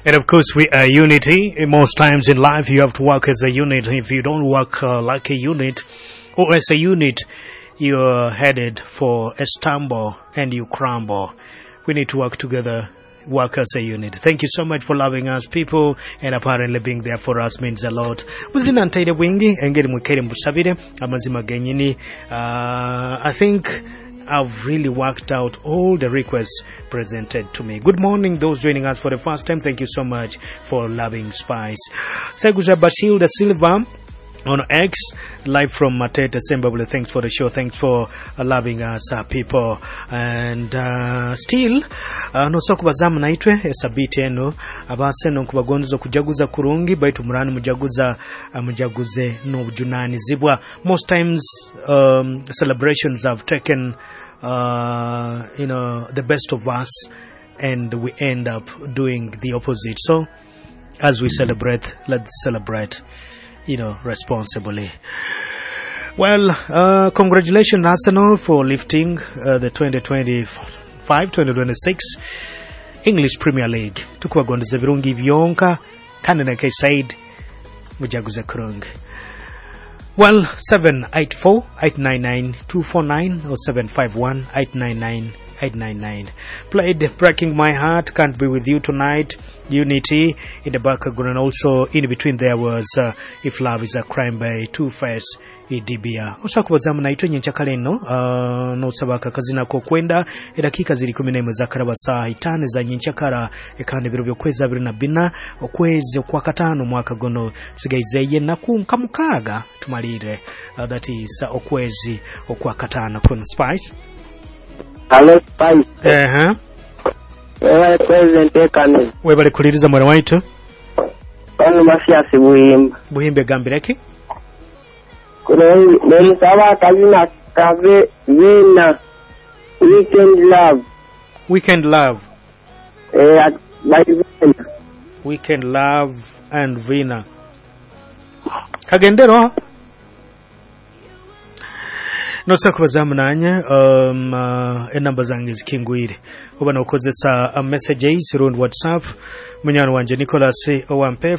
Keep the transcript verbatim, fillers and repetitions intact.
And of course, we are unity. Most times in life, you have to work as a unit. If you don't work uh, like a unit or as a unit, you're headed for a stumble and you crumble. We need to work together, work as a unit. Thank you so much for loving us, people, and apparently being there for us means a lot. Buzina ntaire bwingi engeri mwikere mbusabire amazima genyini. Uh, I think I've really worked out all the requests presented to me. Good morning, those joining us for the first time. Thank you so much for loving Spice. Seguza Bashil da Silva on X, live from Matete, Zimbabwe. Thanks for the show. Thanks for uh, loving us, uh, people. And uh, still, uh, nosobola kubazamu naitwe esabiti eno abaseno nkubagonza okujaguza kurungi baitu murani mujaguza uh, mujaguze n'obujunanizibwa. Most times um, celebrations have taken uh, you know the best of us and we end up doing the opposite. So as we celebrate, let's celebrate you know, responsibly. Well, uh, congratulations, Arsenal, for lifting uh, the twenty twenty-five twenty twenty-six English Premier League. Tukubagondeza birungi byonka kandi, like I said, mujaguze kurungi. Well, seven eight four, eight nine nine, two four nine or seven five one, eight nine nine, eight nine nine. Played Breaking My Heart, Can't Be With You Tonight, Unity in the background, and also in between there was uh, If Love Is a Crime by Two Face Idibia. Osakubazamu naitwe nyenkyakale eno uh, nosaba akakazina kokwenda edakiika ziri kumi n'emwe zakaraba saa itaano za nyenkyakara ekandi ebiro by'okwezi abiri na bina okwezi okwakataano omwaka guno tusigaizeeyo ennaku nka mukaaga tumalire uh, that is uh, okwezi okwakataano kuno. Spice. Hello, Spice. uh-huh. Webale president ekane. Webale kuliriza mwana waitu. Pano Masiasi Buhimba. Buhimbe gambireki. Nemusaba akazina kave Vina Weekend Love. Weekend Love. Eh, by Vina. Weekend Love and Vina kagendero nosa kubazamu nanye um, uh, enamba zange zikingwire oba nokozesa uh, messages rundi WhatsApp. Munyani wanje Nicholas Owampe.